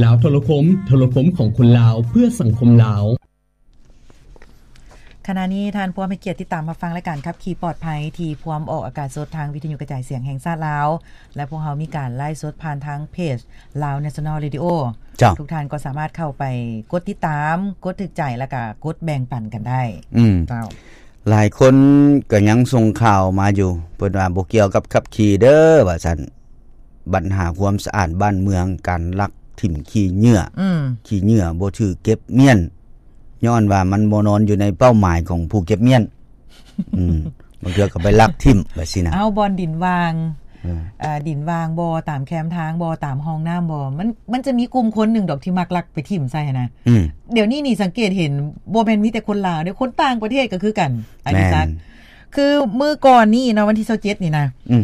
ລາວໂທລະຄົມ, ໂທລະຄົມຂອງຄົນລາວ ເພື່ອສັງຄົມລາວ. ຂະນະນີ້ທ່ານພວມໃຫ້ກຽດຕິດຕາມຮັບຟັງລາຍການຂັບຂີ່ປອດໄພ ທີ່ພວມອອກອາກາດສົດທາງວິທະຍຸກະຈາຍສຽງແຫ່ງຊາດລາວ ແລະ ພວກເຮົາມີການໄລຟ໌ສົດຜ່ານທາງເພຈ Lao National Radio. ເຈົ້າ. ທຸກທ່ານກໍສາມາດເຂົ້າໄປກົດຕິດຕາມ, ກົດຖືກໃຈ ແລ້ວກະກົດແບ່ງປັນກັນໄດ້. ອືມ. ເຈົ້າ. ຫຼາຍຄົນກໍຍັງສົ່ງຂ່າວມາຢູ່ ເພິ່ນວ່າບໍ່ກ່ຽວກັບຂັບຂີ່ເດີ້ ວ່າຊັ້ນ. ບັນຫາຄວາມສະອາດບ້ານເມືອງ, ການລັກຖິ້ມຂີ້ເຫຍື້ອ, ອືມ ຂີ້ເຫຍື້ອບໍ່ຖືກເກັບມ້ຽນ ຍ້ອນວ່າມັນບໍ່ນອນຢູ່ໃນເປົ້າໝາຍຂອງຜູ້ເກັບມ້ຽນ. ອືມ ບາງເທື່ອກໍໄປລັກຖິ້ມແບບຊີ້ນະ. ເອົາ ບ່ອນດິນວ່າງ ເອີ ເອີ ດິນວ່າງບໍ່ ຕາມແຄມທາງບໍ່ ຕາມຮ່ອງນ້ຳບໍ່ ມັນ ມັນຈະມີກຸ່ມຄົນໜຶ່ງດອກທີ່ມັກລັກໄປຖິ້ມໃສ່ຫັ້ນນະ. ອືມ ດຽວນີ້ນີ້ສັງເກດເຫັນ ບໍ່ແມ່ນມີແຕ່ຄົນລາວເດ້ ຄົນຕ່າງປະເທດກໍຄືກັນ ອາ ແມ່ນ ດີສັກ. ຄືມື້ກ່ອນນີ້ເນາະ ວັນທີຊາວເຈັດນີ້ນະ ອືມ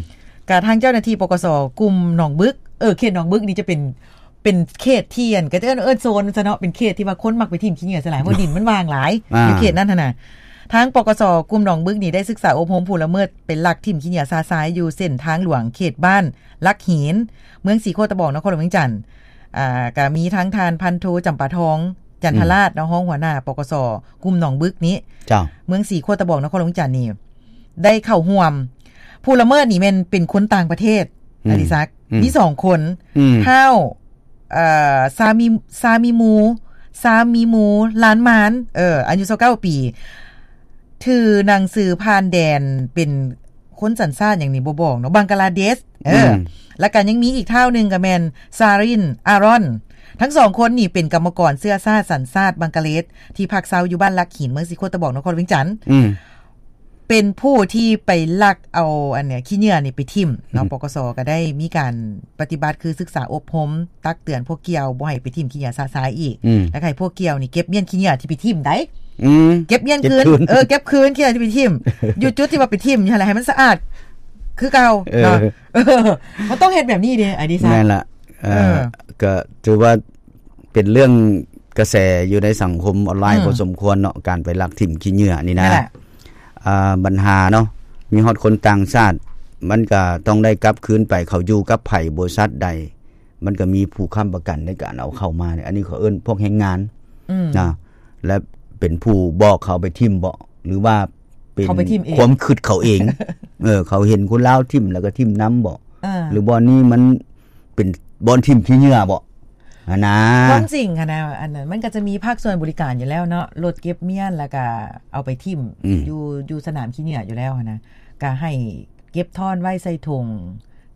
ກະທາງເຈົ້າໜ້າທີ່ ປກສ ກຸ່ມໜອງບຶກ ເອີ ເຂດໜອງບຶກນີ້ຈະເປັນ ເປັນເຂດທີ່ ອັນ ກໍຈະເອີ້ນ ເອີ້ນໂຊນຊະເນາະ ເປັນເຂດທີ່ວ່າຄົນມັກໄປຖິ້ມຂີ້ເຫຍື້ອໃສ່ຫຼາຍ ເພາະດິນມັນວ່າງຫຼາຍ ອ່າ ຢູ່ເຂດນັ້ນຫັ້ນນະ. ທາງ ປກສ ກຸ່ມໜອງບຶກນີ້ໄດ້ສຶກສາອົບຮົມຜູ້ລະເມີດໄປລັກຖິ້ມຂີ້ເຫຍື້ອຊະຊາຍຢູ່ເສັ້ນທາງຫຼວງເຂດບ້ານຫຼັກຫີນ ເມືອງສີໂຄດຕະບອງ ນະຄອນຫຼວງວຽງຈັນ. ອ່າ ກະມີທັງທ່ານພັນໂທ ຈຳປາທອງ ຈັນທະລາດ ອືມ ເນາະ ຮອງຫົວໜ້າ ປກສ ກຸ່ມໜອງບຶກນີ້ ເຈົ້າ ເມືອງສີໂຄດຕະບອງ ນະຄອນຫຼວງວຽງຈັນນີ້ ໄດ້ເຂົ້າຮ່ວມ. ຜູ້ລະເມີດນີ້ແມ່ນເປັນຄົນຕ່າງປະເທດ ອືມ ອາ ດີສັກ ອືມ ມີສອງຄົນ ອືມ ທ້າວ ເອີ ຊາມີ ຊາມີມູ ຊາມີມູ ລານມານ ເອີ ອາຍຸຊາວເກົ້າປີ ຖືໜັງສືຜ່ານແດນ ເປັນຄົນສັນຊາດຫຍັງນີ້ບໍ່ບອກເນາະ ບັງກະລາເດດ ເອີ ອືມ ແລ້ວກໍຍັງມີອີກທ້າວໜຶ່ງກໍແມ່ນ ຊາຣິນ ອາຣອນ. ທັງສອງຄົນນີ້ເປັນກຳມະກອນເຊື້ອຊາດ ສັນຊາດບັງກະເລດ ທີ່ພັກເຊົາຢູ່ບ້ານຫຼັກຫີນ ເມືອງສີໂຄດຕະບອງ ນະຄອນຫຼວງວຽງຈັນ ອືມ ເປັນຜູ້ທີ່ໄປລັກເອົາ ອັນເນີ້ຍ ຂີ້ເຫຍື້ອນີ້ໄປຖິ້ມເນາະ. ອືມ ປກສ ກໍໄດ້ມີການປະຕິບັດ ຄືສຶກສາອົບຮົມ ຕັກເຕືອນພວກກ່ຽວບໍ່ໃຫ້ໄປຖິ້ມຂີ້ເຫຍື້ອຊະຊາຍອີກ ອືມ ແລ້ວໃຫ້ພວກກ່ຽວນີ້ເກັບມ້ຽນຂີ້ເຫຍື້ອທີ່ໄປຖິ້ມໄດ້ ອືມ ເກັບມ້ຽນຄືນ ເອີ ເກັບຄືນຂີ້ເຫຍື້ອທີ່ໄປຖິ້ມ ຢູ່ຈຸດທີ່ວ່າໄປຖິ້ມຫັ້ນແຫຼະ ໃຫ້ມັນສະອາດຄືເກົ່າ ເອີ ເນາະ. ເອີ ມັນຕ້ອງເຮັດແບບນີ້ເດ້ ອາ ດີສັກ ແມ່ນລະ ເອີ ເອີ ກໍຖືວ່າ ເປັນເລື່ອງກະແສຢູ່ໃນສັງຄົມອອນລາຍ ອືມ ພໍສົມຄວນເນາະ ການໄປລັກຖິ້ມຂີ້ເຫຍື້ອນີ້ນະ. ອ່າ ບັນຫາເນາະ ມີຮອດຄົນຕ່າງຊາດ ມັນກະຕ້ອງໄດ້ກັບຄືນໄປ ເຂົາຢູ່ກັບໃຜ ບໍລິສັດໃດ ມັນກະມີຜູ້ຄ້ຳປະກັນໃນການເອົາເຂົ້າມາ. ອັນນີ້ເຂົາເອີ້ນພວກແຮງງານ ອືມ ນະ ແລະ ເປັນຜູ້ບອກເຂົາໄປຖິ້ມບໍ ຫຼືວ່າເປັນ ເຂົາໄປຖິ້ມເອງ ຄວາມຄິດເຂົາເອງ ເອີ ເຂົາເຫັນຄົນລາວຖິ້ມແລ້ວກໍຖິ້ມນຳບໍ ເອີ ຫຼືບ່ອນນີ້ມັນ ເປັນບ່ອນຖິ້ມຂີ້ເຫຍື້ອບໍຫັ້ນນາ. ຄວາມຈິງຫັ້ນນະ ອັນນັ້ນມັນກໍຈະມີພາກສ່ວນບໍລິການຢູ່ແລ້ວເນາະ ລົດເກັບມ້ຽນ ແລ້ວກະເອົາໄປຖິ້ມ ອືມ ຢູ່ ຢູ່ສະໜາມຂີ້ເຫຍື້ອຢູ່ແລ້ວຫັ້ນນະ ກະໃຫ້ເກັບທ້ອນໄວ້ໃສ່ຖົງ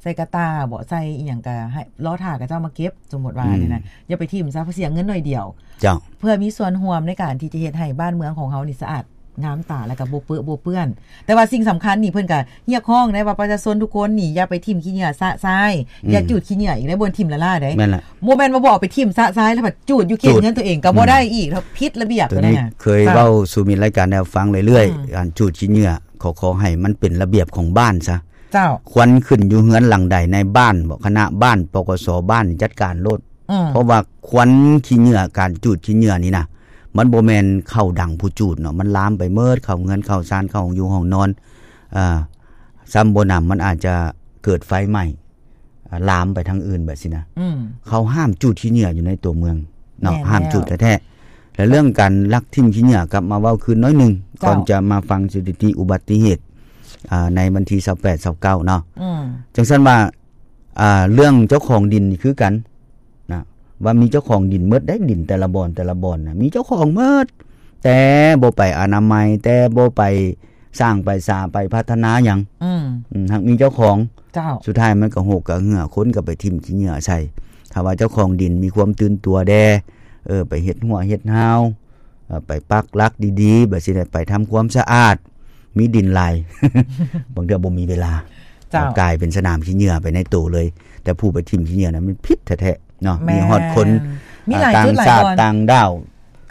ໃສ່ກະຕ່າບໍ ໃສ່ອີ່ຫຍັງ ກະໃຫ້ລໍຖ້າເຂົາເຈົ້າມາເກັບ ສົມມຸດວ່າ ອືມ ນີ້ນະ ຢ່າໄປຖິ້ມຊະ ເພາະເສຍເງິນໜ້ອຍດຽວ. ເຈົ້າ. ເພື່ອມີສ່ວນຮ່ວມໃນການທີ່ຈະເຮັດໃຫ້ບ້ານເມືອງຂອງເຮົານີ້ສະອາດ ງາມຕາ ແລ້ວກໍບໍ່ເປິະບໍ່ເປື້ອນ. ແຕ່ວ່າສິ່ງສຳຄັນນີ້ ເພິ່ນກໍຮຽກຮ້ອງໄດ້ວ່າປະຊາຊົນທຸກຄົນນີ້ຢ່າໄປຖິ້ມຂີ້ເຫຍື້ອຊະຊາຍ ອືມ ຢ່າຈູດຂີ້ເຫຍື້ອອີກໃນບ່ອນຖິ້ມລ້າໆໃດ໋. ແມ່ນລະ. ບໍ່ແມ່ນວ່າບໍ່ເອົາໄປຖິ້ມຊະຊາຍແລ້ວຈູດຢູ່ເຂດເຮືອນຕົວເອງກໍບໍ່ໄດ້ອີກ ຜິດລະບຽບ. ໂຕນີ້ເຄີຍເວົ້າສູ່ມິດລາຍການແນວຟັງເລື້ອຍໆ ອືມ ການຈູດຂີ້ເຫຍື້ອ ຂໍ ຂໍໃຫ້ມັນເປັນລະບຽບຂອງບ້ານຊະ. ເຈົ້າ. ຄວັນຂຶ້ນຢູ່ເຮືອນຫຼັງໃດໃນບ້ານບໍ ຄະນະບ້ານ ປກສ ບ້ານຈັດການໂລດ. ອືມ ເພາະວ່າຄວັນຂີ້ເຫຍື້ອ ການຈູດຂີ້ເຫຍື້ອນີ້ນະ ມັນບໍ່ແມ່ນເຂົ້າດັງຜູ້ຈູດເນາະ ມັນລາມໄປເໝິດ ເຂົ້າເຮືອນເຂົ້າຊານ ເຂົ້າຫ້ອງຢູ່ຫ້ອງນອນ ເອີ ຊ້ຳບໍ່ໜຳ ມັນອາດຈະເກີດໄຟໄໝ້ ເອີ ລາມໄປທາງອື່ນແບບຊີ້ນະ. ອືມ ເຂົາຫ້າມຈູດຂີ້ເຫຍື້ອຢູ່ໃນຕົວເມືອງເນາະ ແມ່ນແລ້ວ ຫ້າມຈູດແທ້ໆ. ແລະ ເລື່ອງການລັກຖິ້ມຂີ້ເຫຍື້ອ ກັບມາເວົ້າຄືນໜ້ອຍໜຶ່ງ ເຈົ້າ ກ່ອນຈະມາຟັງສະຖິຕິອຸບັດຕິເຫດ ອ່າ ໃນວັນທີຊາວແປດ ຊາວເກົ້າເນາະ. ອືມ ຈັ່ງຊັ້ນວ່າ ອ່າ ເລື່ອງເຈົ້າຂອງດິນນີ້ຄືກັນນະ ວ່າມີເຈົ້າຂອງດິນໝົດໄດ໋ ດິນແຕ່ລະບ່ອນ ແຕ່ລະບ່ອນນະ ມີເຈົ້າຂອງໝົດ ແຕ່ບໍ່ໄປອະນາໄມ ແຕ່ບໍ່ໄປສ້າງໄປສາ ໄປພັດທະນາຫຍັງ. ອືມ ອືມ ຫາກມີເຈົ້າຂອງ ເຈົ້າ ສຸດທ້າຍມັນກໍຫົກກໍເຫື່ອ ຄົນກໍໄປຖິ້ມຂີ້ເຫຍື້ອໃສ່. ຖ້າວ່າເຈົ້າຂອງດິນມີຄວາມຕື່ນຕົວແດ່ ເອີ ໄປເຮັດຮົ້ວເຮັດຮາວ ເອີ ໄປປັກຫຼັກດີໆ ແບບຊີ້ແຫຼະ ໄປທຳຄວາມສະອາດ ມີດິນຫຼາຍ ບາງເທື່ອບໍ່ມີເວລາ ເຈົ້າ ກາຍເປັນສະໜາມຂີ້ເຫຍື້ອໄປໃນໂຕເລີຍ. ແຕ່ຜູ້ໄປຖິ້ມຂີ້ເຫຍື້ອນັ້ນມັນຜິດແທ້ໆເນາະ. ແມ່ນ ມີຮອດຄົນ ມີຫຼາຍ ອ່າ ຕ່າງຊາດ ຕ່າງດ້າວ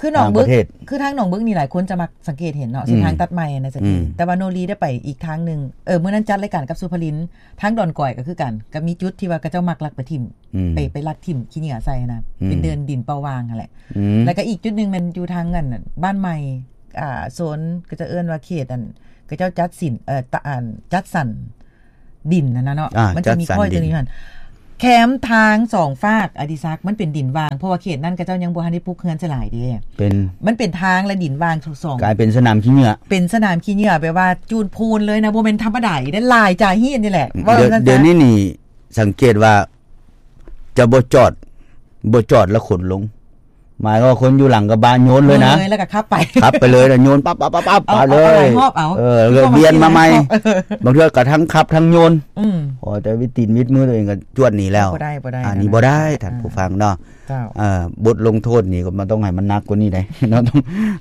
ຄືໜອງບຶກ ຄືທາງໜອງບຶກນີ້ຫຼາຍຄົນຈະມັກສັງເກດເຫັນເນາະ ເສັ້ນທາງ ອືມ ຕັດໃໝ່ນະຈະ ອືມ ແຕ່ວ່າໂນລີໄດ້ໄປອີກທາງໜຶ່ງ ເອີ ມື້ນັ້ນຈັດລາຍການກັບສຸພະລິນ ທາງດອນກອຍກໍຄືກັນ ກໍມີຈຸດທີ່ວ່າເຂົາເຈົ້າມັກລັກໄປຖິ້ມ ອືມ ໄປ ໄປລັກຖິ້ມຂີ້ເຫຍື້ອໃສ່ນະ ອືມ ເປັນເດີ່ນດິນເປົ່າວ່າງຫັ້ນແຫຼະ. ອືມ ແລ້ວກໍອີກຈຸດໜຶ່ງແມ່ນຢູ່ທາງອັນບ້ານໃໝ່ ອ່າ ໂຊນ ເຂົາເຈົ້າເອີ້ນວ່າເຂດອັນ ເຂົາເຈົ້າຈັດສິນ ເອີ ຕະ ອັນ ຈັດສັນດິນຫັ້ນນະເນາະ ອ່າ ມັນຈະມີ ຈັດສັນດິນ ຂ້ອຍຕົວນີ້ຫັ້ນ ແຄມທາງສອງຟາກ ອະດິສັກ ມັນເປັນດິນຫວ່າງ ເພາະວ່າເຂດນັ້ນເຂົາເຈົ້າຍັງບໍ່ທັນໄດ້ປຸກເຮືອນໃສ່ຫຼາຍເດ້. ເປັນ ມັນເປັນທາງ ແລະ ດິນຫວ່າງທັງສອງ ກາຍເປັນສະໜາມຂີ້ເຫຍື້ອ ເປັນສະໜາມຂີ້ເຫຍື້ອ ແບບວ່າຈູນພູນເລີຍນະ ບໍ່ແມ່ນທຳມະດາອີກເດ້ ຫຼາຍຈາຮີດນີ້ແຫຼະ. ເວົ້າ ດຽວ ຊັ້ນຊະ ດຽວນີ້ນີ້ ສັງເກດວ່າຈະບໍ່ຈອດ ບໍ່ຈອດແລ້ວຂົນລົງ ໝາຍຄວາມວ່າຄົນຢູ່ຫຼັງກະບະໂຍນເລີຍນະ ໂຍນເລີຍແລ້ວກໍຂັບໄປ ຂັບໄປເລີຍນະ ໂຍນປັບໆໆໆ ເອົາ ໄປເລີຍ ເອົາຫຼາຍຮອບເອົາ ເອີ ລະກຽນມາໃໝ່ ເອີ ບາງເທື່ອກໍທັງຂັບທັງໂຍນ ອືມ ພໍແຕ່ວິຕີນວິດມືຕົວເອງກໍຈວດໜີແລ້ວ ບໍ່ໄດ້ ບໍ່ໄດ້ ອັນນີ້ບໍ່ໄດ້ ອາ ທ່ານຜູ້ຟັງເນາະ ເຈົ້າ ເອີ ບົດລົງໂທດນີ້ກໍມັນຕ້ອງໃຫ້ມັນໜັກກວ່ານີ້ໄດ໋ເນາະ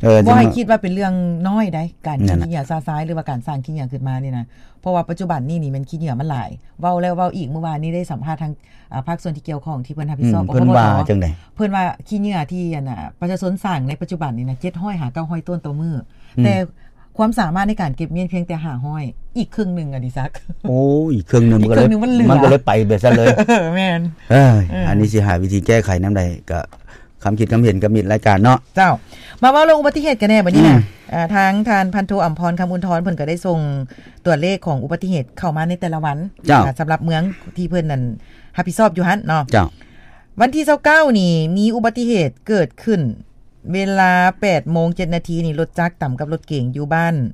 ເອີ ບໍ່ໃຫ້ຄິດວ່າເປັນເລື່ອງນ້ອຍໃດ໋ ການຂີ້ເຫຍື້ອຊະຊາຍ ຫຼືວ່າການສ້າງຂີ້ເຫຍື້ອຂຶ້ນມານີ້ນະ ເພາະວ່າປັດຈຸບັນນີ້ນີ້ແມ່ນຂີ້ເຫຍື້ອມັນຫຼາຍ ເວົ້າແລ້ວເວົ້າອີກ ມື້ວານນີ້ໄດ້ສຳພາດທາງ ອ່າ ພາກສ່ວນທີ່ກ່ຽວຂ້ອງທີ່ເພິ່ນຮັບຜິດຊອບ ອືມ ເພິ່ນວ່າຈັ່ງໃດ? ເພິ່ນວ່າຂີ້ເຫຍື້ອທີ່ ອັນນ່າ ປະຊາຊົນສ້າງໃນປັດຈຸບັນນີ້ນະ ເຈັດຮ້ອຍຫາເກົ້າຮ້ອຍໂຕນຕໍ່ມື້ ອືມ ແຕ່ຄວາມສາມາດໃນການເກັບມ້ຽນພຽງແຕ່ຫ້າຮ້ອຍ ອີກເຄິ່ງໜຶ່ງ ອະດິສັກ ໂອ້ ອີກເຄິ່ງໜຶ່ງ ອີກເຄິ່ງໜຶ່ງມັນເຫຼືອ ມັນກໍເລີຍໄປແບບຊັ້ນເລີຍ ເອີ ແມ່ນ ເອີຍ ເອີ ອັນນີ້ຊິຫາວິທີແກ້ໄຂນຳໃດ ກໍຄຳຄິດຄຳເຫັນກັບມິດລາຍການເນາະ ເຈົ້າ ມາເວົ້າເລື່ອງອຸບັດຕິເຫດກັນແດ່ບັດນີ້ນະ ອືມ ເອີ ທາງທ່ານພັນໂທ ອຳພອນ ຄຳອຸນທອນ ເພິ່ນກໍໄດ້ສົ່ງ ຕົວເລກຂອງອຸບັດຕິເຫດເຂົ້າມາໃນແຕ່ລະວັນ ເຈົ້າ ສຳລັບເມືອງທີ່ເພິ່ນນັ້ນຮັບຜິດຊອບຢູ່ຫັ້ນເນາະ ເຈົ້າ ວັນທີຊາວເກົ້ານີ້ມີອຸບັດຕິເຫດເກີດຂຶ້ນເວລາແປດໂມງເຈັດນາທີນີ້ ລົດຈັກຕຳກັບລົດເກັງຢູ່ບ້ານ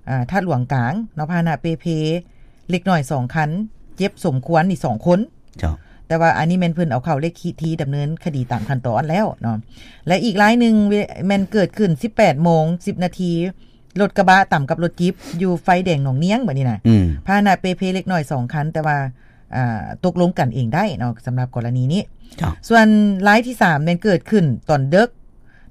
ອາ ທາດຫຼວງກາງເນາະ ພາຫະນະເປ່ເພເລັກນ້ອຍສອງຄັນ ເຈັບສົມຄວນນີ້ສອງຄົນ ເຈົ້າ ແຕ່ວ່າອັນນີ້ແມ່ນເພິ່ນເອົາເຂົ້າເລກທີດຳເນີນຄະດີຕາມຂັ້ນຕອນແລ້ວເນາະ ແລະ ອີກລາຍໜຶ່ງແມ່ນເກີດຂຶ້ນສິບແປດໂມງສິບນາທີ ລົດກະບະຕຳກັບລົດຈິບຢູ່ໄຟແດງໜອງນຽງ ບັດນີ້ນະ ອືມ ພາຫະນະເປ່ເພເລັກນ້ອຍສອງຄັນ ແຕ່ວ່າ ອ່າ ຕົກລົງກັນເອງໄດ້ເນາະ ສຳລັບກໍລະນີນີ້ ເຈົ້າ ສ່ວນລາຍທີສາມແມ່ນເກີດຂຶ້ນຕອນເດິກ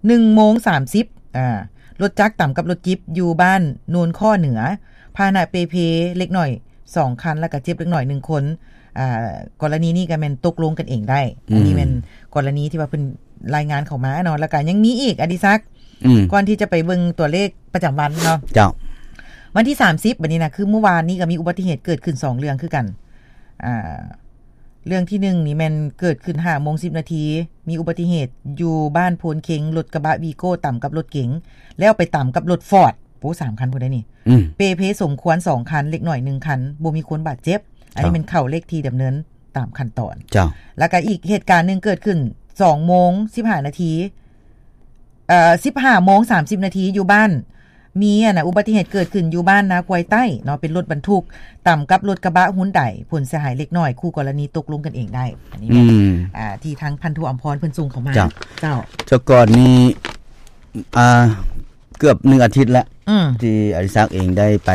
ໜຶ່ງໂມງສາມສິບ ອ່າ ລົດຈັກຕຳກັບລົດຈິບຢູ່ບ້ານໂນນຂໍ້ເໜືອ ພາຫະນະເປ່ເພເລັກນ້ອຍສອງຄັນ ແລ້ວກໍເຈັບເລັກນ້ອຍໜຶ່ງຄົນ ອ່າ ກໍລະນີນີ້ກໍແມ່ນຕົກລົງກັນເອງໄດ້ ອືມ ອັນນີ້ແມ່ນກໍລະນີທີ່ວ່າເພິ່ນລາຍງານເຂົ້າມາເນາະ ແລ້ວກໍຍັງມີອີກ ອະດິສັກ ອືມ ກ່ອນທີ່ຈະໄປເບິ່ງຕົວເລກປະຈຳວັນເນາະ ເຈົ້າ ວັນທີສາມສິບ ບັດນີ້ນະ ຄືມື້ວານນີ້ກໍມີອຸບັດຕິເຫດເກີດຂຶ້ນສອງເລື່ອງຄືກັນ ອ່າ ເລື່ອງທີໜຶ່ງນີ້ແມ່ນເກີດຂຶ້ນຫ້າໂມງສິບນາທີ ມີອຸບັດຕິເຫດຢູ່ບ້ານໂພນເຄັງ ລົດກະບະວີໂກ້ຕຳກັບລົດເກັງ ແລ້ວໄປຕຳກັບລົດຟອດ ໂອ້ ສາມຄັນພຸ້ນໃດ໋ນີ້ ອືມ ເປ່ເພສົມຄວນສອງຄັນ ເລັກນ້ອຍໜຶ່ງຄັນ ບໍ່ມີຄົນບາດເຈັບ ອັນນີ້ແມ່ນເຂົ້າເລກທີດຳເນີນຕາມຂັ້ນຕອນ ເຈົ້າ ແລ້ວກໍອີກເຫດການໜຶ່ງເກີດຂຶ້ນສອງໂມງສິບຫ້ານາທີ ເອີ ສິບຫ້າໂມງສາມສິບນາທີ ຢູ່ບ້ານ ມີອັນນ່າ ອຸບັດຕິເຫດເກີດຂຶ້ນຢູ່ບ້ານນາຄວາຍໃຕ້ເນາະ ເປັນລົດບັນທຸກຕຳກັບລົດກະບະຮຸນໄດ ຜົນເສຍຫາຍເລັກນ້ອຍ ຄູ່ກໍລະນີຕົກລົງກັນເອງໄດ້ ອັນນີ້ແມ່ນ ອືມ ອ່າ ທີ່ທາງພັນໂທ ອຳພອນ ເພິ່ນສົ່ງເຂົ້າມາ ເຈົ້າ ເຈົ້າ ແຕ່ກ່ອນນີ້ ອ່າ ເກືອບໜຶ່ງອາທິດແລ້ວ ອືມ ທີ່ອະດິສັກເອງໄດ້ໄປ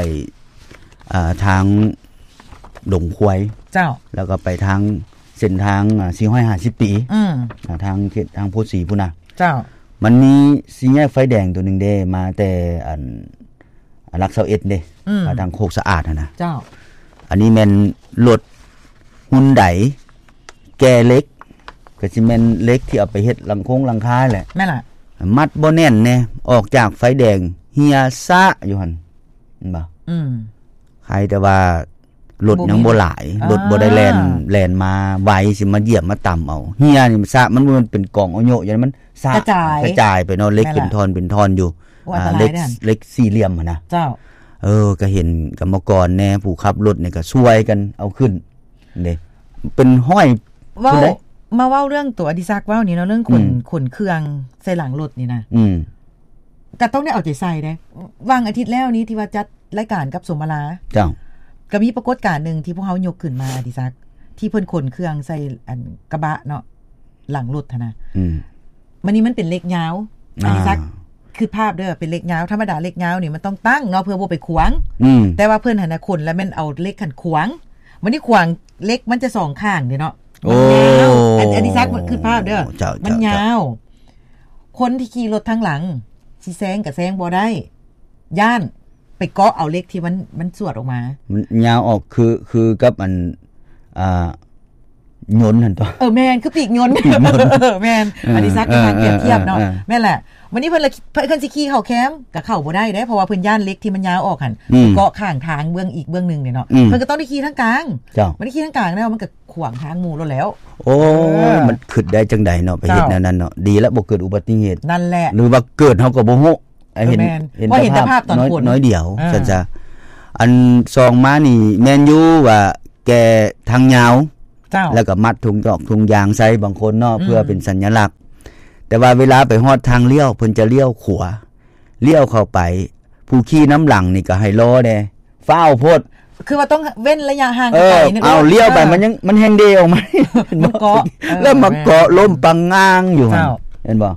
ອ່າ ທາງດົງຄວາຍ ເຈົ້າ ແລ້ວກໍໄປທາງເສັ້ນທາງ ອ່າ ສີ່ຮ້ອຍຫ້າສິບປີ ອືມ ອ່າ ທາງເຂດທາງໂພສີພຸ້ນນະ ເຈົ້າ ມັນມີສີ່ແຍກໄຟແດງຕົວໜຶ່ງເດ້ ມາແຕ່ອັນ ຫຼັກຊາວເອັດເດ້ ອືມ ມາທາງໂຄກສະອາດຫັ້ນນະ ເຈົ້າ ອັນນີ້ແມ່ນລົດຮຸນໄດ ແກ່ເຫຼັກ ກໍຊິແມ່ນເຫຼັກທີ່ເອົາໄປເຮັດຫຼັງຄົງຫຼັງຄາແຫຼະ ແມ່ນລະ ມັດບໍ່ແໜ້ນແນ່ ອອກຈາກໄຟແດງເຫ່ຍຊະຢູ່ຫັ້ນ ເຫັນບໍ່? ອືມ ໃຄແຕ່ວ່າລົດຍັງບໍ່ຫຼາຍ ບໍ່ມີ ລົດບໍ່ໄດ້ແລ່ນ ອ່າ ແລ່ນມາໄວ ຊິມາຢຽບມາຕຳເອົາ ເຫ່ຍນີ້ຊະ ມັນບໍ່ແມ່ນເປັນກອງອະໂຍະຢູ່ ມັນຊະ ກະຈາຍ ກະຈາຍໄປເນາະ ເຫຼັກ ແມ່ນລະ ເປັນທ່ອນເປັນທ່ອນຢູ່ ໂອ້ ອ່າ ອັນຕະລາຍເດ້ ເຫຼັກ ເຫຼັກສີ່ຫຼ່ຽມຫັ້ນນະ ເຈົ້າ ເອີ ກໍເຫັນກຳມະກອນແດ່ ຜູ້ຂັບລົດນີ້ກໍຊ່ວຍກັນເອົາຂຶ້ນເດ້ ເປັນຮ້ອຍ ເວົ້າ ພຸ້ນເດ້ ມາເວົ້າເລື່ອງຕົວອະດິສັກເວົ້ານີ້ເນາະ ເລື່ອງຂົນ ອືມ ຂົນເຄື່ອງໃສ່ຫຼັງລົດນີ້ນະ ອືມ ກໍຕ້ອງໄດ້ເອົາໃຈໃສ່ເດ້ ຫວ່າງອາທິດແລ້ວນີ້ທີ່ວ່າຈັດລາຍການກັບສົມມາລາ ເຈົ້າ ກໍມີປາກົດການໜຶ່ງທີ່ພວກເຮົາຍົກຂຶ້ນມາ ອະດິສັກ ທີ່ເພິ່ນຂົນເຄື່ອງໃສ່ອັນກະບະເນາະ ຫຼັງລົດຫັ້ນນະ ອືມ ມັນນີ້ມັນເປັນເຫຼັກຍາວ ອ່າ ອະດິສັກ ຄິດພາບເດີ ເປັນເຫຼັກຍາວ ທຳມະດາເຫຼັກຍາວນີ້ມັນຕ້ອງຕັ້ງເນາະ ເພື່ອບໍ່ໄປຂວາງ ອືມ ແຕ່ວ່າເພິ່ນຫັ້ນນະຂົນແລ້ວແມ່ນເອົາເຫຼັກຫັ້ນຂວາງ ບັດນີ້ຂວາງເຫຼັກມັນຈະສອງຂ້າງເດ້ເນາະ ໂອ້ ມັນຍາວ ອະ ອະດິສັກ ຄິດພາບເດີ ເຈົ້າ ມັນຍາວ ເຈົ້າ ຄົນທີ່ຂີ່ລົດທາງຫຼັງຊິແຊງກໍແຊງບໍ່ໄດ້ ຢ້ານໄປເກາະເອົາເຫຼັກທີ່ມັນ ມັນສວດອອກມາ ມັນຍາວອອກ ຄື ຄືກັບອັນ ອ່າ ຍົນຫັ້ນຕົວະ ເອີ ແມ່ນ ຄືປີກຍົນ ປີກຍົນ ເອີ ແມ່ນ ເອີ ອະດິສັກ ເອີ ເປັນການປຽບທຽບເນາະ ເອີ ເອີ ແມ່ນແຫຼະ ບັດນີ້ເພິ່ນລະ ເພິ່ນ ເພິ່ນຊິຂີ່ເຂົ້າແຄມກໍເຂົ້າບໍ່ໄດ້ເດ້ ເພາະວ່າເພິ່ນຢ້ານເຫຼັກທີ່ມັນຍາວອອກຫັ້ນ ອືມ ໄປເກາະຂ້າງທາງເບື້ອງອີກເບື້ອງໜຶ່ງເດ້ເນາະ ອືມ ເພິ່ນກໍຕ້ອງໄດ້ຂີ່ທາງກາງ ເຈົ້າ ບັດນີ້ຂີ່ທາງກາງແລ້ວມັນກໍຂວາງທາງໝູ່ໂລດແລ້ວ ໂອ້ຍ ເອີ ມັນຄິດໄດ້ຈັ່ງໃດເນາະ ໄປເຮັດ ເຈົ້າ ແນວນັ້ນເນາະ ດີແລ້ວບໍ່ເກີດອຸບັດຕິເຫດ ນັ້ນແຫຼະ ຫຼືວ່າເກີດເຮົາກໍບໍ່ຮູ້ ເອີ ເຫັນ ແມ່ນ ເຫັນ ເພາະເຫັນແຕ່ ແຕ່ພາບ ພາບຕອນ ນ້ອຍ ຝົນ ນ້ອຍດຽວ ເອີ ຊັ້ນຊະ ອັນສອງມານີ້ແມ່ນຢູ່ວ່າແກ່ທາງຍາວ ເຈົ້າ ແລ້ວກໍມັດຖົງຈອກຖົງຢາງໃສ່ບາງຄົນເນາະ ອືມ ເພື່ອເປັນສັນຍະລັກ. ແຕ່ວ່າເວລາໄປຮອດທາງລ້ຽວ ເພິ່ນຈະລ້ຽວຂວາ ລ້ຽວເຂົ້າໄປ ຜູ້ຂີ່ນຳຫຼັງນີ້ກໍໃຫ້ລໍແດ່ ຟ້າວໂພດ ຄືວ່າຕ້ອງເວັ້ນໄລຍະຫ່າງ ເອີ ກັນໄປ ເອົາລ້ຽວໄປ ເອີ ມັນຍັງ ມັນແຮ່ງເດອອກມາ ມັນເກາະ ເອີ ແລ້ວມາເກາະ ແມ່ນ ລົ້ມປັງງາງຢູ່ຫັ້ນ ເຈົ້າ ເຫັນບໍ່?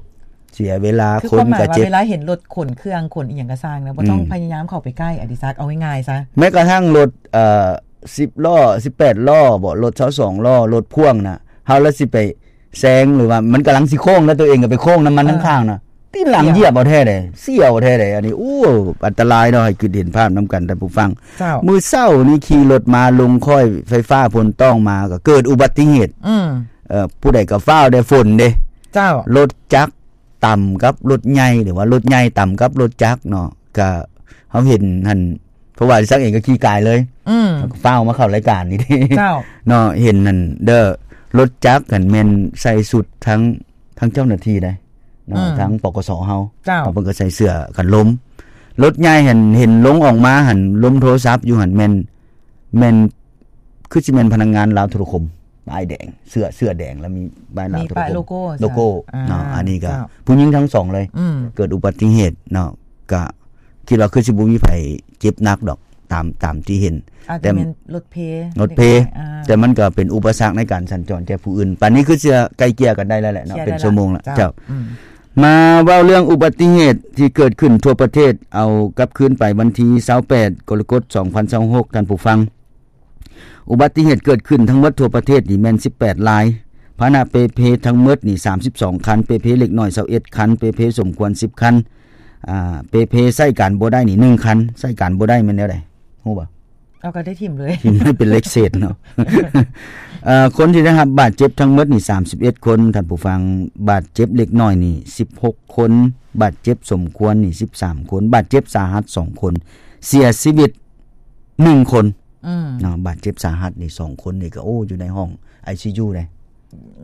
ເສຍເວລາ ຄື ຄົນກໍເຈັບ ຄວາມໝາຍວ່າເວລາເຫັນລົດຂົນເຄື່ອງຂົນອີ່ຫຍັງກໍຊ່າງນະ ບໍ່ຕ້ອງ ອືມ ພະຍາຍາມເຂົ້າໄປໃກ້ ອະດິສັກ ເອົາງ່າຍໆຊະ ແມ້ກະທັ່ງລົດ ເອີ ສິບລໍ້ ສິບແປດລໍ້ບໍ ລົດຊາວສອງລໍ້ ລົດພ່ວງນະ ເຮົາລະຊິໄປແຊງ ຫຼືວ່າມັນກຳລັງຊິໂຄ້ງ ແລ້ວຕົວເອງກໍໄປໂຄ້ງນຳມັນ ເອີ ທາງຂ້າງນະ ຕີນຫຼັງ ສຽວ ຢຽບເອົາແທ້ເດ້ ສຽວແທ້ເດ້. ອັນນີ້ ໂອ້ ອັນຕະລາຍເນາະ ໃຫ້ຄິດເຫັນພາບນຳກັນທ່ານຜູ້ຟັງ ເຈົ້າ ມື້ເຊົ້ານີ້ຂີ່ລົດມາ ລົງຄ້ອຍໄຟຟ້າ ຝົນຕ້ອງມາ ກໍເກີດອຸບັດຕິເຫດ ອືມ ເອີ ຜູ້ໃດກໍຟ້າວແດ່ ຝົນເດ້ ເຈົ້າ ລົດຈັກ ຕຳກັບລົດໃຫຍ່ ຫຼືວ່າລົດໃຫຍ່ຕຳກັບລົດຈັກເນາະ ກະເຮົາເຫັນຫັ້ນ ເພາະວ່າອະດິສັກເອງກໍຂີ່ກາຍເລີຍ ອືມ ເຮົາກໍຟ້າວມາເຂົ້າລາຍການນີ້ເດ້ ເຈົ້າ ເນາະ ເຫັນຫັ້ນເດີ ລົດຈັກຫັ້ນແມ່ນໃສ່ຊຸດທັງ ທັງເຈົ້າໜ້າທີ່ໃດ໋ເນາະ ອືມ ທັງ ປກສ ເຮົາ ເຈົ້າ ເພິ່ນກໍໃສ່ເສື້ອກັນລົມ ລົດໃຫຍ່ຫັ້ນເຫັນລົງອອກມາຫັ້ນ ລົມໂທລະສັບຢູ່ຫັ້ນ ແມ່ນ ແມ່ນ ຄືຊິແມ່ນພະນັກງານລາວໂທລະຄົມ ປ້າຍແດງ ເສື້ອ ເສື້ອແດງ ແລ້ວມີປ້າຍລາວ ມີປ້າຍໂທລະຄົມ ໂລໂກ້ ໂລໂກ້ ເຈົ້າ ເນາະ ອ່າ ອັນນີ້ກໍ ເຈົ້າ ຜູ້ຍິງທັງສອງເລີຍ ອືມ ເກີດອຸບັດຕິເຫດເນາະ ກະຄິດວ່າຄືຊິບໍ່ມີໃຜເຈັບໜັກດອກ ຕາມ ຕາມທີ່ເຫັນ ອາດຈະແມ່ນລົດເພ ແຕ່ລົດເພ ເດັກນ້ອຍ ອ່າ ແຕ່ມັນກໍເປັນອຸປະສັກໃນການສັນຈອນແກ່ຜູ້ອື່ນ ປານນີ້ຄືຊິໄກ່ເກ່ຍກັນໄດ້ແລ້ວແຫຼະເນາະ ເປັນຊົ່ວໂມງລະ ເຈົ້າ ເຈົ້າ ອືມ ມາເວົ້າເລື່ອງອຸບັດຕິເຫດທີ່ເກີດຂຶ້ນທົ່ວປະເທດ ເອົາກັບຄືນໄປວັນທີຊາວແປດ ກໍລະກົດ ສອງພັນຊາວຫົກ ທ່ານຜູ້ຟັງ ອຸບັດຕິເຫດເກີດຂຶ້ນທັງໝົດທົ່ວປະເທດນີ້ແມ່ນສິບແປດລາຍ, ພາຫະນະເປ່ເພທັງໝົດນີ້ສາມສິບສອງຄັນ, ເປ່ເພເລັກນ້ອຍຊາວເອັດຄັນ, ເປ່ເພສົມຄວນສິບຄັນ, ອ່າ ເປ່ເພໃຊ້ການບໍ່ໄດ້ນີ້ໜຶ່ງຄັນ. ໃຊ້ການບໍ່ໄດ້ແມ່ນແນວໃດ? ຮູ້ບໍ່? ເອົາ ກໍໄດ້ຖິ້ມເລີຍ ຖິ້ມໃຫ້ເປັນເລກເສດເນາະ. ເອີ ຄົນທີ່ໄດ້ຮັບບາດເຈັບທັງໝົດນີ້ສາມສິບເອັດຄົນ, ທ່ານຜູ້ຟັງ, ບາດເຈັບເລັກນ້ອຍນີ້ສິບຫົກຄົນ, ບາດເຈັບສົມຄວນນີ້ສິບສາມຄົນ, ບາດເຈັບສາຫັດສອງຄົນ, ເສຍຊີວິດໜຶ່ງຄົນ. ອືມ ເນາະ ບາດເຈັບສາຫັດນີ້ສອງຄົນນີ້ກໍ ໂອ້ ຢູ່ໃນຫ້ອງໄອຊີຢູເດ້.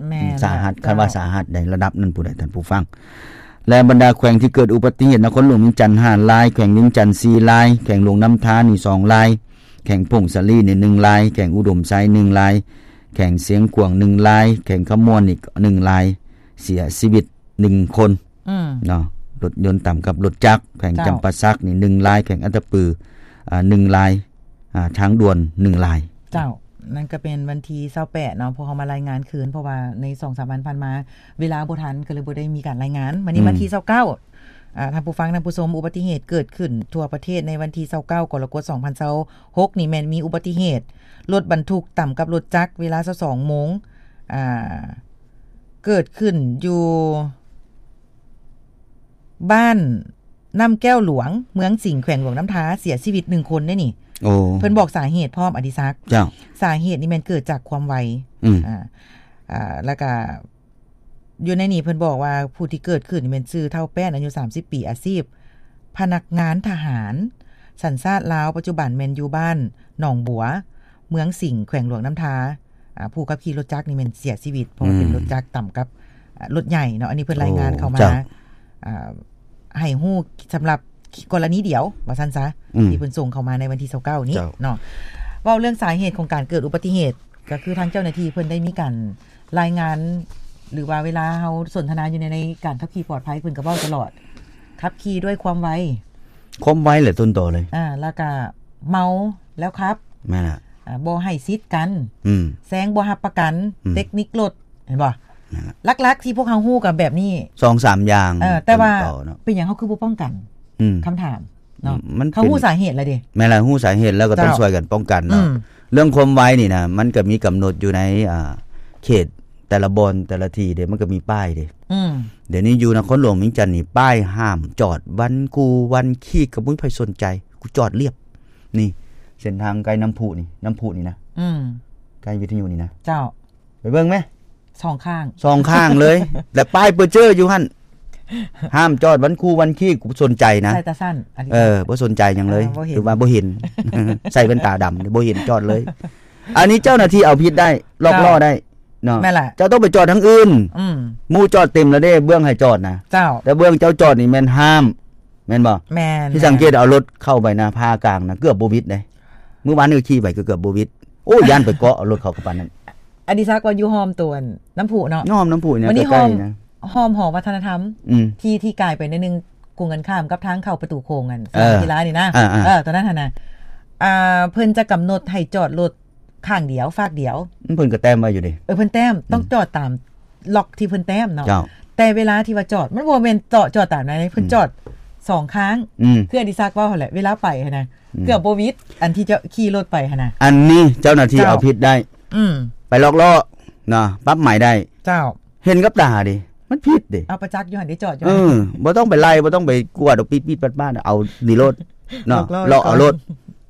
ແມ່ນ ສາຫັດ ແລ້ວ ຄັນວ່າສາຫັດໃດ ລະດັບນັ້ນພຸ້ນແຫຼະ ທ່ານຜູ້ຟັງ. ແລະ ບັນດາແຂວງທີ່ເກີດອຸບັດຕິເຫດ ນະຄອນຫຼວງວຽງຈັນຫ້າລາຍ, ແຂວງວຽງຈັນສີ່ລາຍ, ແຂວງຫຼວງນ້ຳທານີ້ສອງລາຍ, ແຂວງຜົ້ງສາລີນີ້ໜຶ່ງລາຍ, ແຂວງອຸດົມໄຊໜຶ່ງລາຍ, ແຂວງຊຽງຂວາງໜຶ່ງລາຍ, ແຂວງຄຳມ່ວນນີ້ໜຶ່ງລາຍ, ເສຍຊີວິດ ໜຶ່ງຄົນ ອືມ ເນາະ. ລົດຍົນຕຳກັບລົດຈັກ ແຂວງ ເຈົ້າ ຈຳປາສັກນີ້ໜຶ່ງລາຍ, ແຂວງອັດຕະປື ອ່າ ໜຶ່ງລາຍ, ອ່າ ທາງດ່ວນໜຶ່ງລາຍ. ເຈົ້າ ນັ້ນກໍເປັນວັນທີຊາວແປດເນາະ ພວກເຮົາມາລາຍງານຄືນ ເພາະວ່າໃນສອງສາມວັນຜ່ານມາ ເວລາບໍ່ທັນ ກໍເລີຍບໍ່ໄດ້ມີການລາຍງານ. ມື້ນີ້ ອືມ ວັນທີຊາວເກົ້າ ອ່າ ທ່ານຜູ້ຟັງ ທ່ານຜູ້ຊົມ, ອຸບັດຕິເຫດເກີດຂຶ້ນທົ່ວປະເທດໃນວັນທີຊາວເກົ້າ ກໍລະກົດ ສອງພັນຊາວຫົກນີ້ ແມ່ນມີອຸບັດຕິເຫດລົດບັນທຸກຕຳກັບລົດຈັກເວລາຊາວສອງໂມງ ອ່າ ເກີດຂຶ້ນຢູ່ບ້ານນ້ຳແກ້ວຫຼວງ ເມືອງສິງ ແຂວງຫຼວງນ້ຳທາ ເສຍຊີວິດໜຶ່ງຄົນເດ້ນີ້. ໂອ້ ເພິ່ນບອກສາເຫດພ້ອມ ອະດິສັກ. ເຈົ້າ ສາເຫດນີ້ແມ່ນເກີດຈາກຄວາມໄວ. ອືມ ອ່າ ອ່າ ແລ້ວກະ ຢູ່ໃນນີ້ເພິ່ນບອກວ່າ ຜູ້ທີ່ເກີດຂຶ້ນນີ້ແມ່ນຊື່ທ້າວແປ້ນ ອາຍຸສາມສິບປີ ອາຊີບພະນັກງານທະຫານ ສັນຊາດລາວ, ປັດຈຸບັນແມ່ນຢູ່ບ້ານໜອງບົວ ເມືອງສິງ ແຂວງຫຼວງນ້ຳທາ. ອ່າ ຜູ້ຂັບຂີ່ລົດຈັກນີ້ແມ່ນເສຍຊີວິດ ເພາະວ່າເປັນ ອືມ ລົດຈັກຕຳກັບ ອ່າ ລົດໃຫຍ່ເນາະ. ອັນນີ້ເພິ່ນລາຍງານເຂົ້າມາ ໂອ້ ເຈົ້າ ອ່າ ໃຫ້ຮູ້ສຳລັບກໍລະນີດຽວ ວ່າຊັ້ນຊະ ອືມ ທີ່ເພິ່ນສົ່ງເຂົ້າມາໃນວັນທີຊາວເກົ້ານີ້ ເຈົ້າ ເນາະ. ເວົ້າເລື່ອງສາເຫດຂອງການເກີດອຸບັດຕິເຫດ ກໍຄືທາງເຈົ້າໜ້າທີ່ເພິ່ນໄດ້ມີການລາຍງານ ຫຼືວ່າເວລາເຮົາສົນທະນາຢູ່ໃນ ໃນການຂັບຂີ່ປອດໄພ ເພິ່ນກໍເວົ້າຕະຫຼອດ ຂັບຂີ່ດ້ວຍຄວາມໄວ ຄວາມໄວແຫຼະຕົ້ນຕໍເລີຍ. ອ່າ ແລ້ວກະເມົາແລ້ວຂັບ. ແມ່ນລະ. ອ່າ ບໍ່ໃຫ້ສິດກັນ. ອືມ ແຊງບໍ່ຮັບປະກັນ. ອືມ ເຕັກນິກລົດ ເຫັນບໍ່? ແມ່ນລະ. ຫຼັກໆທີ່ພວກເຮົາຮູ້ກໍແບບນີ້ ສອງສາມຢ່າງ. ເອີ ແຕ່ວ່າ ຕົ້ນຕໍເນາະ ເປັນຫຍັງເຮົາຄືບໍ່ປ້ອງກັນ? ອືມ ຄຳຖາມເນາະ. ອືມ ມັນ ເຮົາຮູ້ສາເຫດແລ້ວເດ້. ແມ່ນລະ ຮູ້ສາເຫດແລ້ວກໍຕ້ອງ ເຈົ້າ ຊ່ວຍກັນປ້ອງກັນເນາະ. ອືມ ເລື່ອງຄວາມໄວນີ້ນະ ມັນກໍມີກຳນົດຢູ່ໃນ ອ່າ ເຂດແຕ່ລະບ່ອນແຕ່ລະທີ່ເດ້ ມັນກໍມີປ້າຍເດ້. ອືມ ດຽວນີ້ຢູ່ນະຄອນຫຼວງວຽງຈັນນີ້ ປ້າຍຫ້າມຈອດວັນກູວັນຄີກ ກໍບໍ່ມີໃຜສົນໃຈ ກູຈອດລຽບ. ນີ້ ເສັ້ນທາງໃກ້ນ້ຳພຸນີ້ ນ້ຳພຸນີ້ນະ. ອືມ ໃກ້ວິທະຍຸນີ້ນະ. ເຈົ້າ ໄປເບິ່ງແມ ສອງຂ້າງ ສອງຂ້າງເລີຍ ແລະ ປ້າຍເປີເຈີຢູ່ຫັ້ນ ຫ້າມຈອດວັນຄູວັນຄີກ ກູບໍ່ສົນໃຈນະ. ໃສ່ຕາສັ້ນ ອັນນີ້ ເອີ ບໍ່ສົນໃຈຫຍັງເລີຍ. ອ່າ ບໍ່ເຫັນ ຖືວ່າບໍ່ເຫັນ ໃສ່ແວ່ນຕາດຳ ບໍ່ເຫັນຈອດເລີຍ. ອັນນີ້ເຈົ້າໜ້າທີ່ເອົາຜິດໄດ້ ລອກລໍ້ໄດ້ເນາະ. ເຈົ້າ ແມ່ນລະ. ເຈົ້າຕ້ອງໄປຈອດທາງອື່ນ. ອືມ ໝູ່ຈອດເຕັມແລ້ວເດ້ ເບື້ອງໃຫ້ຈອດນະ. ເຈົ້າ ແຕ່ເບື້ອງເຈົ້າຈອດນີ້ແມ່ນຫ້າມ ແມ່ນບໍ່? ແມ່ນ ທີ່ສັງເກດເອົາລົດເຂົ້າໄປນະ ພາກາງນະ ເກືອບບໍ່ຫວິດເດ້. ມື້ວານນີ້ຂີ່ໄປກໍເກືອບບໍ່ຫວິດ. ໂອ້ ຢ້ານໄປເກາະເອົາລົດເຂົາກະປານນັ້ນ. ອະດິສັກວ່າຢູ່ຫ້ອມໂຕນນ້ຳພຸເນາະ ຫ້ອມນ້ຳພຸນີ້ ອັນນີ້ ໃກ້ໆ ຫ້ອມ ນະ ຫ້ອມຫໍວັດທະນະທຳ ອືມ ທີ່ ທີ່ກາຍໄປໜ້ອຍໜຶ່ງ ກົງກັນຂ້າມກັບທາງເຂົ້າປະຕູໂຂງ ອັນ ເອີ ສະໜາມກິລານີ້ນະ ເອີໆ ເອີ ໂຕນັ້ນຫັ້ນນະ ອ່າ ເພິ່ນຈະກຳນົດໃຫ້ຈອດລົດຂ້າງດຽວ ຟາກດຽວ ເພິ່ນກໍແຕ້ມໄວ້ຢູ່ເດ້ ເອີ ເພິ່ນແຕ້ມ ອືມ ຕ້ອງຈອດຕາມລັອກທີ່ເພິ່ນແຕ້ມເນາະ ເຈົ້າ ແຕ່ເວລາທີ່ວ່າຈອດ ມັນບໍ່ແມ່ນເຈາະ ຈອດຕາມນັ້ນເດ້ ເພິ່ນ ອືມ ຈອດສອງຂ້າງ ອືມ ຄືອະດິສັກເວົ້າຫັ້ນແຫຼະ ເວລາໄປຫັ້ນນະ ອືມ ເກືອບບໍ່ຫວິດ ອັນທີ່ຈະຂີ່ລົດໄປຫັ້ນນະ ອັນນີ້ເຈົ້າໜ້າທີ່ ເຈົ້າ ເອົາຜິດໄດ້ ອືມ ໄປລັອກລໍ້ນະ ປັບໃໝໄດ້ ເຈົ້າ ເຫັນກັບຕາເດ້ ມັນຜິດເດ້ ເອົາປະຈັກຢູ່ຫັ້ນເດ້ ຈອດຢູ່ ເອີ ບໍ່ຕ້ອງໄປໄລ່ ບໍ່ຕ້ອງໄປກວດເອົາ ປິດໆ ປາດໆ ເອົານີ້ໂລດເນາະ ລັອກລໍ້ ລັອກລໍ້ ເອົາລົດ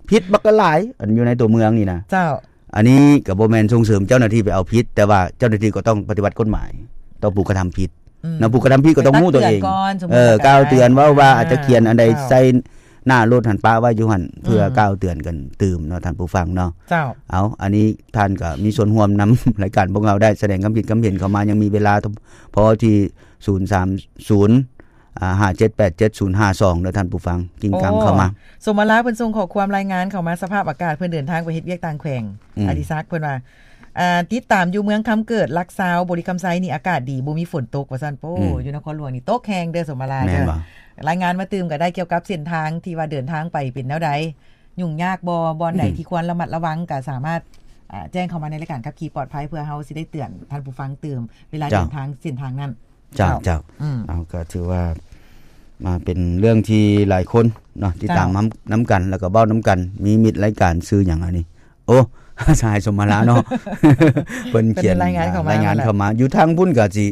ຜິດບັກຫຼາຍ ອັນຢູ່ໃນຕົວເມືອງນີ້ນະ ເຈົ້າ ອັນນີ້ກໍບໍ່ແມ່ນສົ່ງເສີມເຈົ້າໜ້າທີ່ໄປເອົາຜິດ ແຕ່ວ່າເຈົ້າໜ້າທີ່ກໍຕ້ອງປະຕິບັດກົດໝາຍຕໍ່ຜູ້ກະທຳຜິດ ອືມ ນະ ຜູ້ກະທຳຜິດກໍຕ້ອງຮູ້ຕົວເອງ ເອີ ກ່າວເຕືອນ ເວົ້າວ່າ ອ່າ ອາດຈະຂຽນອັນໃດ ເຈົ້າ ໃສ່ໜ້າລົດຫັ້ນ ປະໄວ້ຢູ່ຫັ້ນ ເພື່ອ ອືມ ກ່າວເຕືອນກັນຕື່ມເນາະ ທ່ານຜູ້ຟັງເນາະ ເຈົ້າ ເອົາ ອັນນີ້ທ່ານກໍມີສ່ວນຮ່ວມນຳ ລາຍການພວກເຮົາໄດ້ ສະແດງຄຳຄິດຄຳເຫັນເຂົ້າມາ ຍັງມີເວລາພໍທີ່ ສູນສາມສູນ ອ່າ ຫ້າເຈັດແປດເຈັດສູນຫ້າສອງ ເດີທ່ານຜູ້ຟັງ ກິ້ງກັງເຂົ້າມາ ໂອ້ ສົມມາລາເພິ່ນສົ່ງຂໍ້ຄວາມລາຍງານເຂົ້າມາ ສະພາບອາກາດ ເພິ່ນເດີນທາງໄປເຮັດວຽກຕ່າງແຂວງ ອືມ ອະດິສັກ ເພິ່ນວ່າ ອ່າ ຕິດຕາມຢູ່ເມືອງຄຳເກີດ ຫຼັກຊາວ ບໍລິຄຳໄຊນີ້ອາກາດດີ ບໍ່ມີຝົນຕົກວ່າຊັ້ນ ໂອ້ ອືມ ຢູ່ນະຄອນຫຼວງນີ້ຕົກແຮງເດີ ສົມມາລາ ແມ່ນບໍ່ ລາຍງານມາຕື່ມກໍໄດ້ ກ່ຽວກັບເສັ້ນທາງທີ່ວ່າເດີນທາງໄປເປັນແນວໃດ ຫຍຸ້ງຍາກບໍ່ ບ່ອນໃດ ອືມ ທີ່ຄວນລະມັດລະວັງ ກໍສາມາດ ອ່າ ແຈ້ງເຂົ້າມາໃນລາຍການຂັບຂີ່ປອດໄພ ເພື່ອເຮົາຊິໄດ້ເຕືອນທ່ານຜູ້ຟັງຕື່ມ ເວລາ ເຈົ້າ ເດີນທາງເສັ້ນທາງນັ້ນ ເຈົ້າ ເຈົ້າ ເຈົ້າ ອືມ ເອົາ ກໍຖືວ່າມາເປັນເລື່ອງທີ່ຫຼາຍຄົນເນາະ ຕິດຕາມ ເຈົ້າ ນຳ ນຳກັນ ແລ້ວກໍເວົ້ານຳກັນ ມີມິດລາຍການຊື່ຫຍັງອັນນີ້ ໂອ້ ສະຫາຍສົມມາລາເນາະ ເພິ່ນຂຽນ ເພິ່ນລາຍງານເຂົ້າມາ ລາຍງານເຂົ້າມາ ຢູ່ທາງພຸ້ນກໍຊິ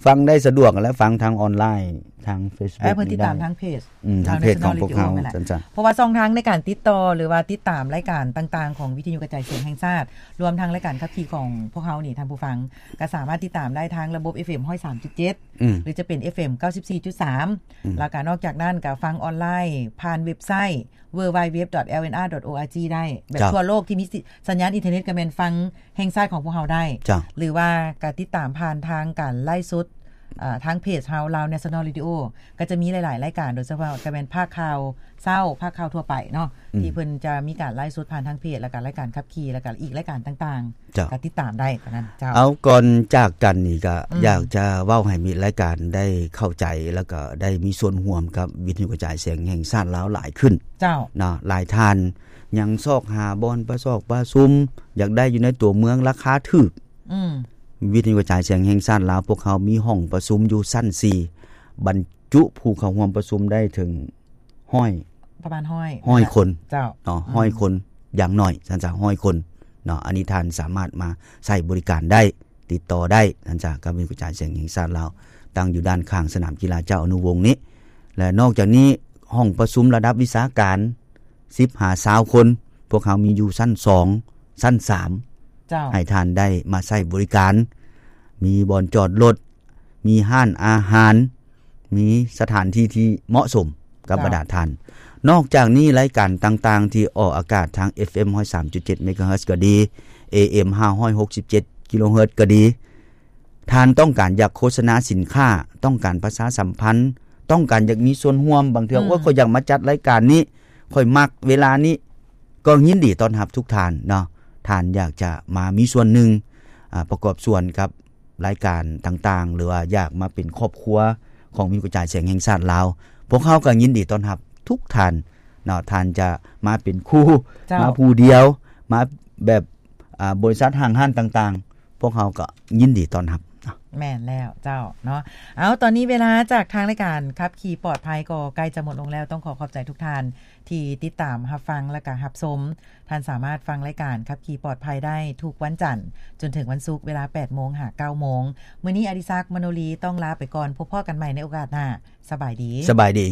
ຟັງໄດ້ສະດວກ ແລະ ຟັງທາງອອນລາຍ ທາງເຟສບຸກ ເອີ ເພິ່ນຕິດຕາມ ນີ້ໄດ້ ທາງເພຈ ອືມ ທາງເພຈຂອງພວກເຮົາ ນັ້ນແຫຼະ ຊັ້ນໆ ເພາະວ່າຊ່ອງທາງໃນການຕິດຕໍ່ ຫຼືວ່າຕິດຕາມລາຍການຕ່າງໆຂອງວິທະຍຸກະຈາຍສຽງແຫ່ງຊາດ ລວມທັງລາຍການຂັບຂີ່ຂອງພວກເຮົານີ້ ທ່ານຜູ້ຟັງ ກໍສາມາດຕິດຕາມໄດ້ທາງລະບົບ ເອັຟເອັມ ຮ້ອຍສາມຈຸດເຈັດ ອືມ ຫຼືຈະເປັນ ເອັຟເອັມ ເກົ້າສິບສີ່ຈຸດສາມ ອືມ ແລ້ວກໍນອກຈາກນັ້ນກໍຟັງອອນລາຍຜ່ານເວັບໄຊ www.lnr.org ໄດ້ ແບບ ເຈົ້າ ທົ່ວໂລກທີ່ມີ ສ- ສັນຍານອິນເຕີເນັດກໍແມ່ນຟັງແຫ່ງຊາດຂອງພວກເຮົາໄດ້ ເຈົ້າ ຫຼືວ່າກໍຕິດຕາມຜ່ານທາງການໄລຟ໌ສົດ ເອີ ທາງເພຈເຮົາ Lao National Radio ກໍຈະມີຫຼາຍໆລາຍການ ໂດຍສະເພາະກໍແມ່ນພາກຂ່າວເຊົ້າ ພາກຂ່າວທົ່ວໄປເນາະ ອືມ ທີ່ເພິ່ນຈະມີການໄລຟ໌ສົດຜ່ານທາງເພຈ ແລ້ວກໍລາຍການຂັບຂີ່ ແລ້ວກໍອີກລາຍການຕ່າງໆ ເຈົ້າ ກໍຕິດຕາມໄດ້ຕອນນັ້ນ ເຈົ້າ ເອົາ ກ່ອນຈາກກັນນີ້ກໍ ອືມ ຢາກຈະເວົ້າໃຫ້ມິດລາຍການໄດ້ເຂົ້າໃຈ ແລ້ວກໍໄດ້ມີສ່ວນຮ່ວມກັບວິທະຍຸກະຈາຍສຽງແຫ່ງຊາດລາວຫຼາຍຂຶ້ນ ເຈົ້າ ເນາະ ຫຼາຍທ່ານຍັງຊອກຫາບ່ອນປະຊອກປະຊຸມ ຢາກໄດ້ຢູ່ໃນຕົວເມືອງລາຄາຖືກ ອືມ ວິທະຍຸກະຈາຍສຽງແຫ່ງຊາດລາວ ພວກເຮົາມີຫ້ອງປະຊຸມຢູ່ຊັ້ນສີ່ ບັນຈຸຜູ້ເຂົ້າຮ່ວມປະຊຸມໄດ້ເຖິງຮ້ອຍ ປະມານຮ້ອຍ ຮ້ອຍຄົນ ເຈົ້າ ເນາະ ອືມ ຮ້ອຍຄົນ ຢ່າງໜ້ອຍ ຊັ້ນຊະ ຮ້ອຍຄົນເນາະ ອັນນີ້ທ່ານສາມາດມາໃຊ້ບໍລິການໄດ້ ຕິດຕໍ່ໄດ້ ທ່ານຈາກ ການວິທະຍຸກະຈາຍສຽງແຫ່ງຊາດລາວ ຕັ້ງຢູ່ດ້ານຂ້າງສະໜາມກິລາເຈົ້າອະນຸວົງນີ້ ແລະ ນອກຈາກນີ້ ຫ້ອງປະຊຸມລະດັບວິຊາການ ສິບຫາຊາວຄົນ ພວກເຮົາມີຢູ່ຊັ້ນສອງ ຊັ້ນສາມ ເຈົ້າ ໃຫ້ທ່ານໄດ້ມາໃຊ້ບໍລິການ ມີບ່ອນຈອດລົດ ມີຮ້ານອາຫານ ມີສະຖານທີ່ທີ່ເໝາະສົມກັບ ເຈົ້າ ບັນດາທ່ານ. ນອກຈາກນີ້ ລາຍການຕ່າງໆທີ່ອອກອາກາດທາງ ເອັຟເອັມ ຮ້ອຍສາມຈຸດເຈັດ ເມກາເຮີດ ກໍດີ ເອເອັມ ຫ້າຮ້ອຍຫົກສິບເຈັດ ກິໂລເຮີດ ກໍດີ ທ່ານຕ້ອງການຢາກໂຄສະນາສິນຄ້າ, ຕ້ອງການປະຊາສຳພັນ, ຕ້ອງການຢາກມີສ່ວນຮ່ວມ, ບາງເທື່ອ ອືມ ໂອ້ຍ ຂ້ອຍຢາກມາຈັດລາຍການນີ້, ຂ້ອຍມັກເວລານີ້, ກໍຍິນດີຕ້ອນຮັບທຸກທ່ານເນາະ. ທ່ານຢາກຈະມາມີສ່ວນໜຶ່ງ, ອາ, ປະກອບສ່ວນກັບ ລາຍການຕ່າງໆ ຫຼືວ່າຢາກມາເປັນຄອບຄົວຂອງວິທະຍຸກະຈາຍສຽງແຫ່ງຊາດລາວ, ພວກເຮົາກໍຍິນດີຕ້ອນຮັບທຸກທ່ານເນາະ. ທ່ານຈະມາເປັນຄູ່, ເຈົ້າ ມາຜູ້ດຽວ, ມາແບບ, ອາ, ບໍລິສັດຫ້າງຮ້ານຕ່າງໆ, ພວກເຮົາກໍຍິນດີຕ້ອນຮັບເນາະ. ແມ່ນແລ້ວເຈົ້າເນາະ. ເອົາ, ຕອນນີ້ເວລາຈາກທາງລາຍການຂັບຂີ່ປອດໄພກໍໃກ້ຈະໝົດລົງແລ້ວ. ຕ້ອງຂໍຂອບໃຈທຸກທ່ານທີ່ຕິດຕາມຮັບຟັງ ແລະກະຮັບຊົມ. ທ່ານສາມາດຟັງລາຍການຂັບຂີ່ປອດໄພໄດ້ທຸກວັນຈັນຈົນເຖິງວັນສຸກ ເວລາແປດໂມງຫາເກົ້າໂມງ. ມື້ນີ້ອະດິສັກ ມະໂນລີ ຕ້ອງລາໄປກ່ອນ. ພົບພໍ້ກັນໃໝ່ໃນໂອກາດໜ້າ. ສະບາຍດີ. ສະບາຍດີ.